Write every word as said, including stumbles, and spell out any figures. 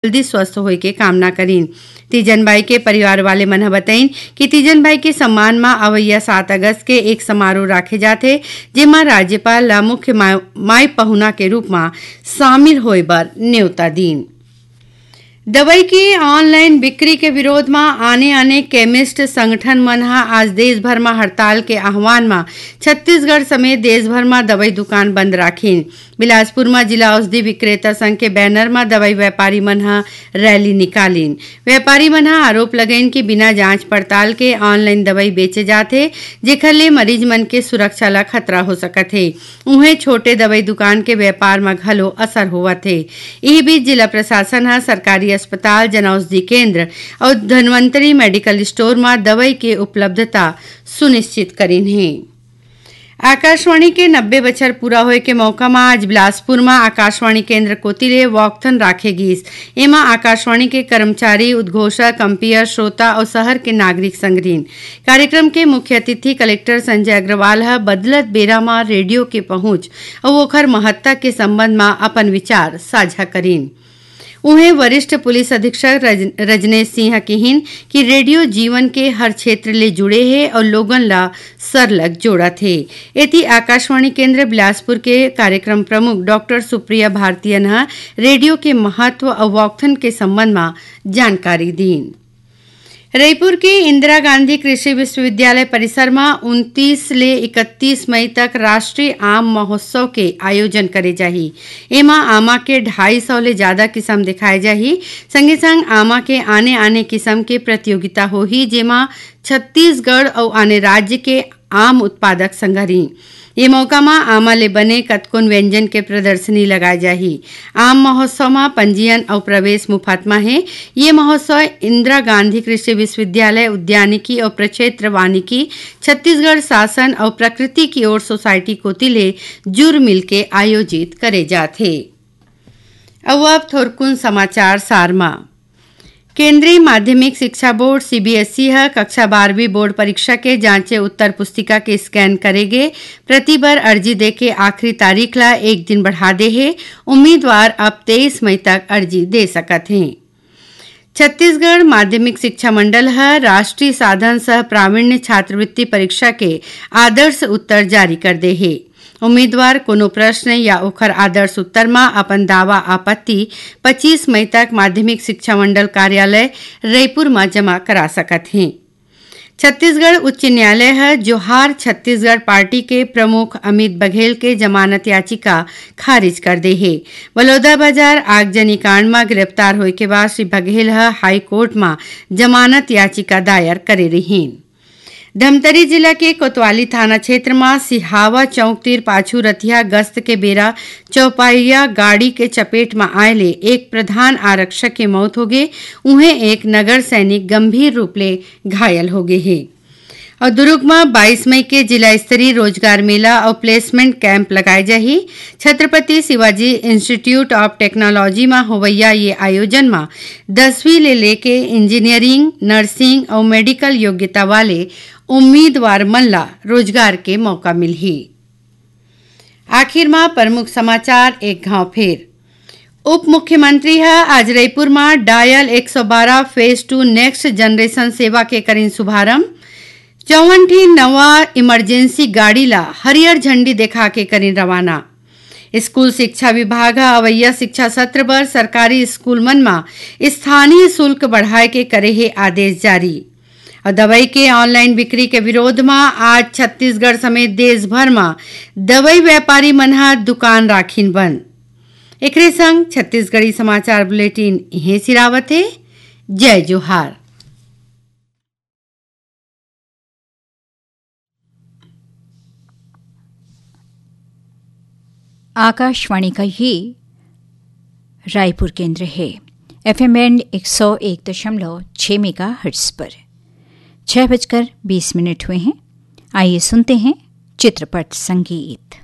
जल्दी स्वस्थ होए के कामना करीन। तीजन बाई के परिवार वाले मन ह बताइन कि तीजन बाई के सम्मान म अवइया सात अगस्त के एक समारोह राखे जाथे, जेमा राज्यपाल ला मुख्य मा-, माई पहुना के रूप म शामिल होए बर न्योता दीन। दवाई के ऑनलाइन बिक्री के विरोध म आने-आने केमिस्ट संगठन मन ह आज देश भर म हड़ताल के आह्वान म छत्तीसगढ़ समेत देश भर म दवाई दुकान बंद राखिन। बिलासपुर म जिला औषधि विक्रेता संघ के बैनर म दवाई व्यापारी मन ह रैली निकालिन। व्यापारी मन ह आरोप लगाइन कि बिना जांच पड़ताल के ऑनलाइन दवाई बेचे जाथे, जेखर ले मरीज मन के सुरक्षा ल खतरा हो सकत हे। उहें, छोटे दवाई दुकान के व्यापार म घलो असर होवत हे। इही बीच, जिला प्रशासन ह सरकारी अस्पताल, जनऔषधि केंद्र अउ धनवंतरी मेडिकल स्टोर म दवाई के उपलब्धता सुनिश्चित करिन हे। आकाशवाणी के नब्बे बछर पूरा होए के मौका म आज बिलासपुर म आकाशवाणी केंद्र कोति ले वॉकथन राखे गिस। एमा आकाशवाणी के कर्मचारी, उद्घोषक, कंपेयर, श्रोता अउ शहर के नागरिक संग रिन। कार्यक्रम के मुख्य अतिथि कलेक्टर संजय अग्रवाल ह बदलत बेरा म रेडियो के पहुंच अउ ओखर महत्ता के संबंध म अपन विचार साझा करिन। उहें, वरिष्ठ पुलिस अधीक्षक रज-, रजनेश सिंह किहिन कि रेडियो जीवन के हर क्षेत्र ले जुड़े हे अउ लोगन ला सरलग जोड़त हे। एती आकाशवाणी केंद्र बिलासपुर के कार्यक्रम प्रमुख डॉक्टर सुप्रिया भारतीयन ह रेडियो के महत्व अउ वॉकथन के संबंध म जानकारी दीन। रईपुर के इंदिरा गांधी कृषि विश्वविद्यालय परिसर म उनतीस ले इकतीस मई तक राष्ट्रीय आम महोत्सव के आयोजन करे जाही। एमा आमा के ढाई सौ ले जादा किसम दिखाए जाही। संगे संग आमा के आने-आने किसम के प्रतियोगिता होही, जेमा छत्तीसगढ़ अउ आने राज्य के आम उत्पादक संघरी। ये मौका म आमा ले बने कतकोन व्यंजन के प्रदर्शनी लगाए जाही। आम महोत्सव म पंजीयन अउ प्रवेश मुफत म हे। ये महोत्सव इंदिरा गांधी कृषि विश्वविद्यालय उद्यानिकी अउ प्रक्षेत्र वानिकी, छत्तीसगढ़ शासन अउ प्रकृति की ओर सोसाइटी कोति ले जुर मिलके आयोजित करे जात हे। अउ अब थोरकुन समाचार सार म। केंद्रीय माध्यमिक शिक्षा बोर्ड, सीबीएसई, ह कक्षा बारहवीं बोर्ड परीक्षा के जांचे उत्तर पुस्तिका के स्कैन करे गे प्रति बर अर्जी दे के आखिरी तारीख ला एक दिन बढ़ा दे हे। उम्मीदवार अब तेईस मई तक अर्जी दे सकत हें। छत्तीसगढ़ माध्यमिक शिक्षा मंडल ह राष्ट्रीय साधन सह प्रावीण्य छात्रवृत्ति परीक्षा के आदर्श उत्तर जारी कर दे हे। उम्मीदवार कोनो प्रश्न या ओखर आदर्श उत्तर म अपन दावा आपत्ति पच्चीस मई तक माध्यमिक शिक्षा मंडल कार्यालय रईपुर म जमा करा सकत हें। छत्तीसगढ़ उच्च न्यायालय ह जोहार छत्तीसगढ़ पार्टी के प्रमुख अमित बघेल के जमानत याचिका खारिज कर दे हे। बलौदाबाजार आगजनी कांड म गिरफ्तार होए के बाद श्री बघेल ह हाईकोर्ट म जमानत याचिका दायर करे रिहीन। धमतरी जिला के कोतवाली थाना क्षेत्र म सिहावा चौक तीर पाछू रतिहा गश्त के बेरा चौपहिया गाड़ी के चपेट म आए ले एक प्रधान आरक्षक के मौत होगे, उहें एक नगर सैनिक गंभीर रूप ले घायल होगे हे। अउ दुर्ग म बाईस मई के जिला स्तरीय रोजगार मेला अउ प्लेसमेंट कैंप लगाए जाही। Chhatrapati Shivaji institute of technology म होवइया ये आयोजन म दसवीं ले लेके इंजीनियरिंग, नर्सिंग अउ मेडिकल योग्यता वाले उम्मीदवार मन ला रोजगार के मौका मिलही। आखिर म प्रमुख समाचार एक घाव फेर। उप मुख्यमंत्री ह आज रईपुर म डायल एक सौ बारह phase two next generation सेवा के करिन शुभारंभ। चौवन ठी नवा इमरजेंसी गाड़ी ला हरियर झंडी देखा के करिन रवाना। स्कूल शिक्षा विभाग ह अवइया शिक्षा सत्र बर सरकारी स्कूल मन म स्थानीय शुल्क बढ़ाए के करे हे आदेश जारी। अउ दवाई के ऑनलाइन बिक्री के विरोध म आज छत्तीसगढ़ समेत देश भर म दवाई व्यापारी मन ह दुकान राखिन बंद। एकरे संग छत्तीसगढ़ी समाचार बुलेटिन इहें सिरावत हे। जय जोहार। आकाशवाणी का ये रायपुर केंद्र है। एफएम बैंड एक सौ एक दशमलव छह मेगाहर्ट्ज़ पर छह बजकर बीस मिनट हुए हैं। आइए सुनते हैं चित्रपट संगीत।